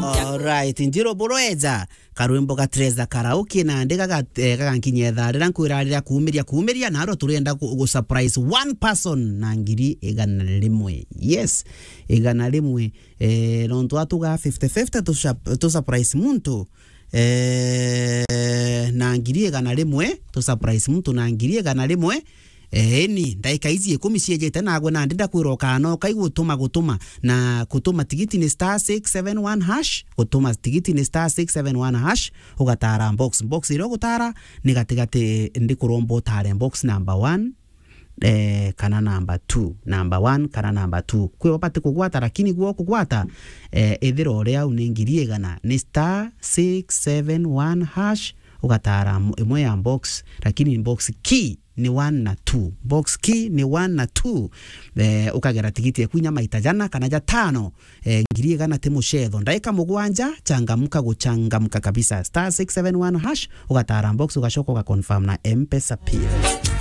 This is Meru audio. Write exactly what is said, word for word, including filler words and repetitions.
Alright, Njiro Buroeja, karwimbo ga Teresa Karaoke, nandi gaga-, eh, gagankinyia ithaa riria nkwira riria kuumiria, kuumiria, narua turienda gu-, gu surprise one person na ngiri igana rimwe. Yes, igana rimwe. Eh, nontu atuga fifty fifty, tu surp-, tu surprise muntu, eh, na ngiri igana rimwe, tu surprise muntu na ngiri igana rimwe. Eeni, ndaika iji ikumi ciejete nagwe, nandi ndakwira ukanoka igutuma gutuma, na gutuma tigiti ni star six seven one hash, gutuma tigiti ni star six seven one hash, ugatara box. Box iria ugutara ni gatigati, ndikuromba utare box number one, eh, kana number two, number one kana number two. Kwi ubati kugwata, lakini gwo kugwata, eh, ithira uria au ni ngiri igana, ni star six seven one hash, ugatara m-, imwe ya box, lakini box key ni one na two. Box key ni one na two. Eh, ukagera tigiti yaku inya maita jana kana jatano. Eh, ngiri igana ti mucetho. Ndaika mugwanja, changamka guchangamka kabisa. Star six seven one hash, ugatara box, ugacoka ugaconfirm na M-Pesa pin.